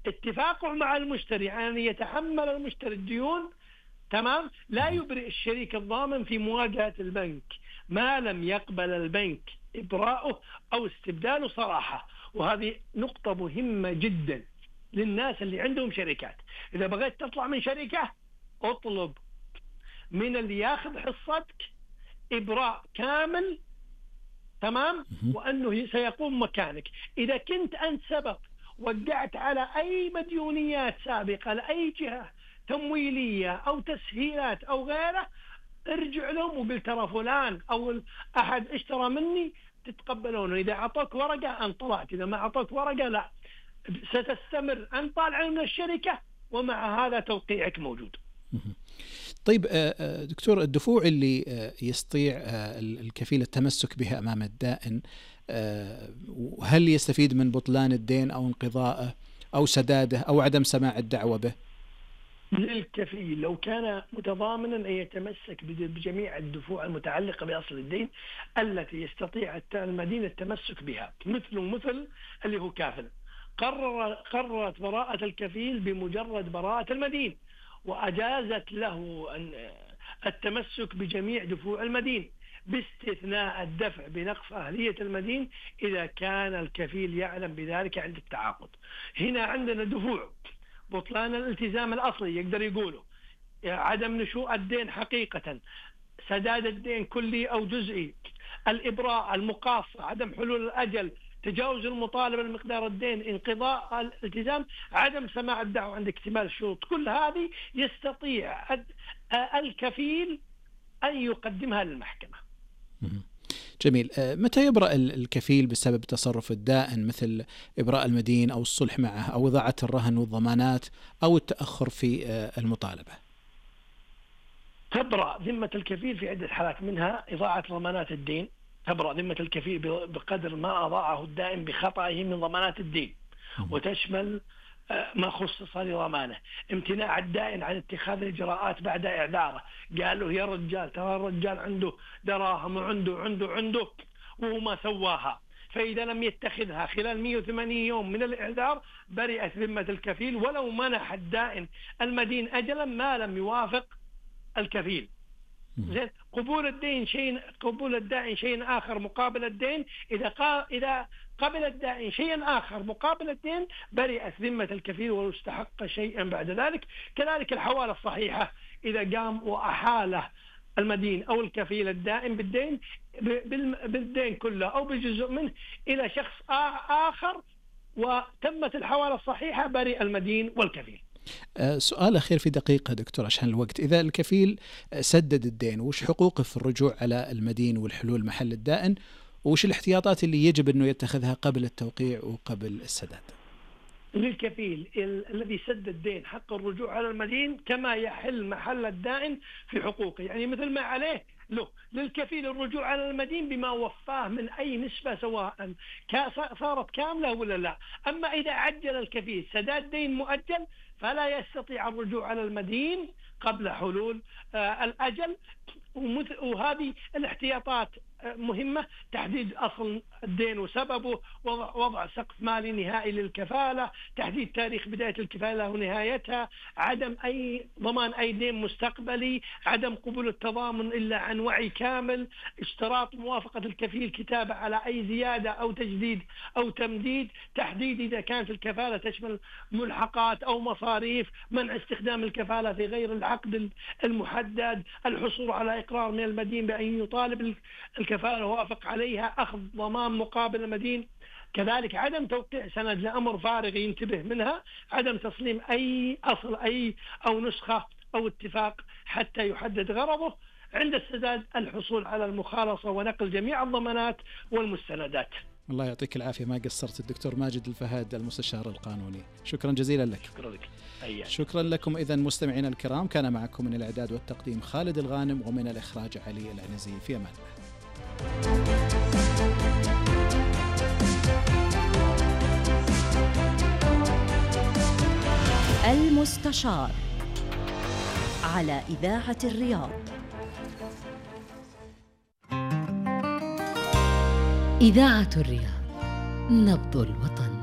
اتفاقه مع المشتري أن يتحمل المشتري الديون، تمام، لا يبرئ الشريك الضامن في مواجهة البنك ما لم يقبل البنك إبراءه أو استبداله صراحة. وهذه نقطة مهمة جدا للناس اللي عندهم شركات. إذا بغيت تطلع من شركة اطلب من اللي ياخذ حصتك إبراء كامل، تمام، وأنه سيقوم مكانك. إذا كنت أنت سبب وقعت على أي مديونيات سابقة لأي جهة تمويلية أو تسهيلات أو غيره، ارجع لهم وقل ترى فلان أو أحد اشترى مني، تتقبلونه. إذا أعطوك ورقة أن طلعت، إذا ما أعطوك ورقة لا، ستستمر أن طالع من الشركة ومع هذا توقيعك موجود. طيب دكتور، الدفوع اللي يستطيع الكفيل التمسك بها أمام الدائن، هل يستفيد من بطلان الدين أو انقضائه أو سداده أو عدم سماع الدعوة به؟ للكفيل لو كان متضامنا أن يتمسك بجميع الدفوع المتعلقة بأصل الدين التي يستطيع المدين التمسك بها، مثل اللي هو كافل. قررت براءة الكفيل بمجرد براءة المدين، وأجازت له التمسك بجميع دفوع المدين باستثناء الدفع بنقص أهلية المدين إذا كان الكفيل يعلم بذلك عند التعاقد. هنا عندنا دفوع: بطلان الالتزام الأصلي يقدر يقوله، عدم نشوء الدين حقيقة، سداد الدين كلي أو جزئي، الإبراء، المقاصة، عدم حلول الأجل، تجاوز المطالبة لمقدار الدين، انقضاء الالتزام، عدم سماع الدعوة عند اكتمال الشروط. كل هذه يستطيع الكفيل أن يقدمها للمحكمة. جميل. متى يبرأ الكفيل بسبب تصرف الدائن، مثل إبراء المدين أو الصلح معه أو إضاعة الرهن والضمانات أو التأخر في المطالبة؟ تبرأ ذمة الكفيل في عدة حالات، منها إضاعة ضمانات الدين. تبرأ ذمة الكفيل بقدر ما أضاعه الدائن بخطئه من ضمانات الدين، وتشمل ما خصص لضمانه. امتناع الدائن عن اتخاذ الإجراءات بعد إعذاره، قال له يا رجال ترى الرجال عنده دراهم وعنده وهو ما سواها، فإذا لم يتخذها خلال 180 يوم من الإعذار برئت ذمة الكفيل ولو منح الدائن المدين أجلا ما لم يوافق الكفيل. زين. قبول الدائن شيء آخر مقابل الدين، إذا قبل الدائن شيئا آخر مقابل الدين برئت ذمة الكفيل ولو استحق شيئا بعد ذلك. كذلك الحوالة الصحيحة، إذا قام وأحاله المدين أو الكفيل الدائن بالدين كله أو بجزء منه إلى شخص آخر وتمت الحوالة الصحيحة، برئ المدين والكفيل. سؤال أخير في دقيقة دكتور عشان الوقت. إذا الكفيل سدد الدين، وش حقوقه في الرجوع على المدين والحلول محل الدائن، وش الاحتياطات اللي يجب أنه يتخذها قبل التوقيع وقبل السداد؟ للكفيل الذي سدد الدين حق الرجوع على المدين كما يحل محل الدائن في حقوقه، يعني مثل ما عليه له للكفيل الرجوع على المدين بما وفاه من أي نسبة، سواء صارت كاملة ولا لا. أما إذا عجل الكفيل سداد دين مؤجل فلا يستطيع الرجوع على المدين قبل حلول الأجل. وهذه الاحتياطات مهمة: تحديد أصل الدين وسببه، وضع سقف مالي نهائي للكفالة، تحديد تاريخ بداية الكفالة ونهايتها، عدم أي ضمان أي دين مستقبلي، عدم قبول التضامن إلا عن وعي كامل، اشتراط موافقة الكفيل كتابة على أي زيادة أو تجديد أو تمديد، تحديد إذا كانت الكفالة تشمل ملحقات أو مصاريف، منع استخدام الكفالة في غير العقد المحدد، الحصول على إقرار من المدين بأن يطالب الكفالة وافق عليها، أخذ ضمان مقابل المدين. كذلك عدم توقيع سند لأمر فارغ ينتبه منها، عدم تسليم أي أصل أو نسخة أو اتفاق حتى يحدد غرضه. عند السداد الحصول على المخالصة ونقل جميع الضمانات والمستندات. الله يعطيك العافية، ما قصرت الدكتور ماجد الفهاد المستشار القانوني، شكرا جزيلا لك. شكرا لك. شكرا لكم. إذن مستمعينا الكرام، كان معكم من الإعداد والتقديم خالد الغانم، ومن الإخراج علي العنزي. في أمان الله. المستشار على إذاعة الرياض. إذاعة الرياض، نبض الوطن.